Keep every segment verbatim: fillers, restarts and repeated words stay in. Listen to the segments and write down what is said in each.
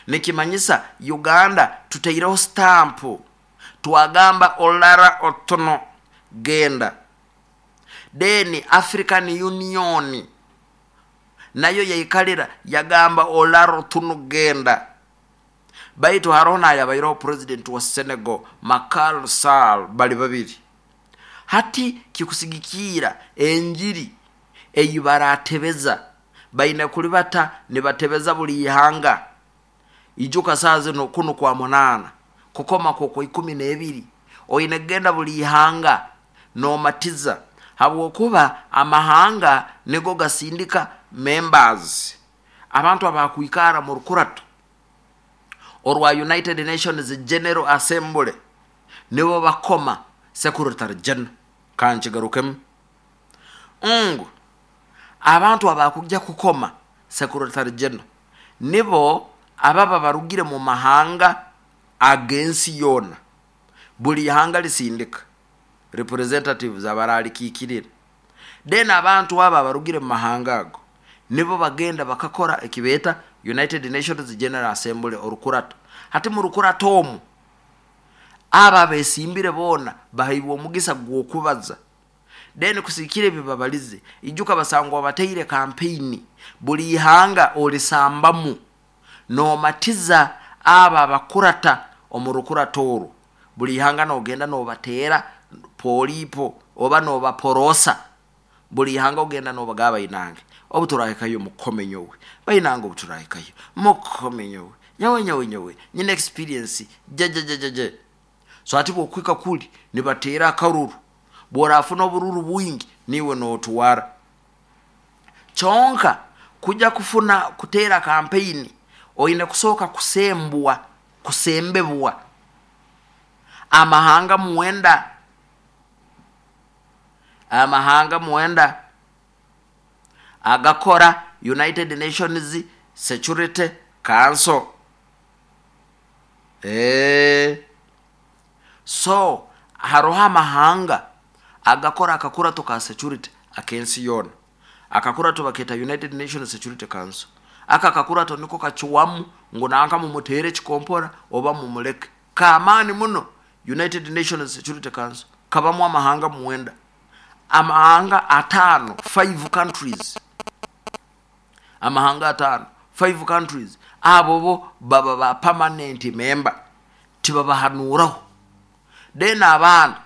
Nikimanyisa Uganda tutaireho stampu, twagamba Olara Otono genda. Then African Union nayo yaikalira yagamba Olara Otuno genda. Baitu haroho nayabaireho president wa Senegal, Macky Sall, bali babiri. Hati kikusigikiira enjiri eyi baratebeza, baine kulibata nibatebeza buli ihanga. Ijuka saa zino kunu kwa munaana kukoma kwa ikumi n'ebiri, oine kugenda buli ihanga nomatiza, habwokuba amahanga nigo gasindika members, abantu abakwikara mu rukurato orwa United Nations General Assembly, nibo bakoma Secretary General. Kankigarukemu ngu abantu abakujja kukoma Secretary General nibo ababa barugire mu mahanga ag'ensi yoona. Buli ihanga lisindika representatives abaralikiikirira. Then abantu aba abarugire mu mahanga ago nibo bagenda bakakora ekibeeta United Nations General Assembly, orukurato. Hati mu rukurato omu aba abesimbire boona bahaibwe omugisa gw'okubaza, then kusikira ebi babalize. Ijuka basangwa bataire kampeyini, buli ihanga olisambamu nomatiza aba abakurata omu rukurato orwo. Buli ihanga nogenda nobateera polipo oba nobaporosa. Buli ihanga ogenda nobagaba, bainange obu turahikayo mukome nyowe, bainange obu turahikayo mukome nyowe, nyowe nyowe nyowe nyine experience jejejejeje. So ati bwokwika kuli nibateera akaruru, bworafuna obururu bwingi niwe notwara. Kyonka kujja kufuna kuteera kampeyini oine kusooka kusembwa, kusembebwa amahanga mwenda, amahanga mwenda agakora United Nations Security Council. e so haroho amahanga agakora akakurato ka security akensi yoona. Akakurato baketa United Nations Security Council. Aka kakurato niko kakiwamu ngu nanka mumutere ekikompora oba mumuleke. Kamaani muno. United Nations Security Council kabamu amahanga mwenda, amahanga ataano, five countries, amahanga ataano, five countries. Abo bo baba ba permanent member, tibabahanuraho. Then abandi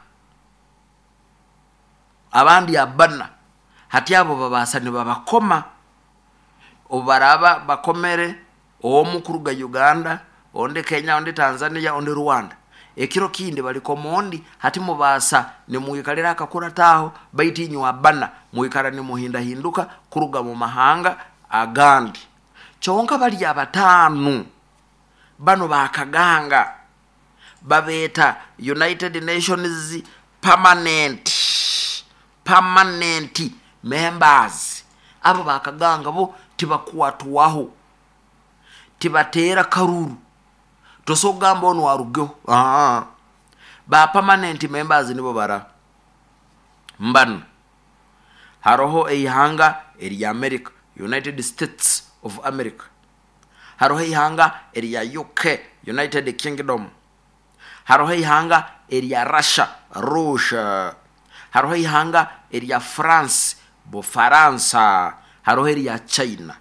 abandi abana, hati abo babasa nibabakoma. Obu baraba bakomere omu kuruga Uganda, ondi Kenya, ondi Tanzania, ondi Rwanda, ekiro kindi balikoma ondi. Hati mubasa nimwikalira akakurataho, baitu inywe abana mwikara nimuhindahinduka kuruga mu mahanga agandi. Kyonka bali abataanu bano bakaganga babeeta United Nations permanent permanent members. Abo bakaganga bo tibakwatwaho, tibateera karuru, tosogamba ono arugeho. Aa, ba permanent members nibo bara mbano. Haroho eihanga erya America, United States of America. Haroho eihanga erya U K, United Kingdom. Haroho eihanga erya Russia, Russia. Haroho eihanga erya France, Bufaransa. Haroho erya China.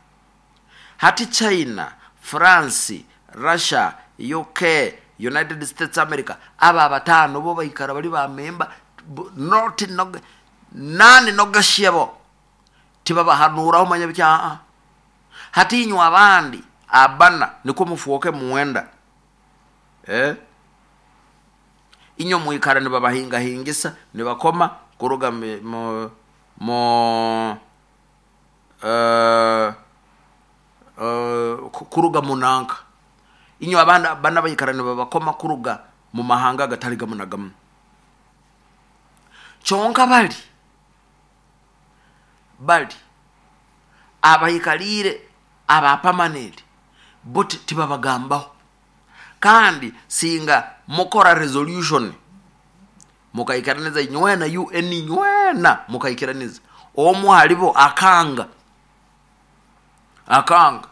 Hati China, France, Russia, U K, United States America, aba abataano bo baikara bali bamemba, not no, nani nogashyebo, tibabahanuraho manya biki. Aa, hati inywe abandi abana niko mufuoke muwenda, eh? Inywe mwikara nibabahingahingisa, nibakoma kuruga mu mu uh, uh, kuruga munanka. Inywe abana bana baikara nibabakoma kuruga mu mahanga agatali gamu na gamu. Kyonka bali bali abaikalire aba permanent bo tibabagambaho. Kandi singa mukora resolution mukaikiraniza inywena U N, inywena mukaikiraniza, omu halibo akanga akanga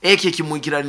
ekyo kimwikirani.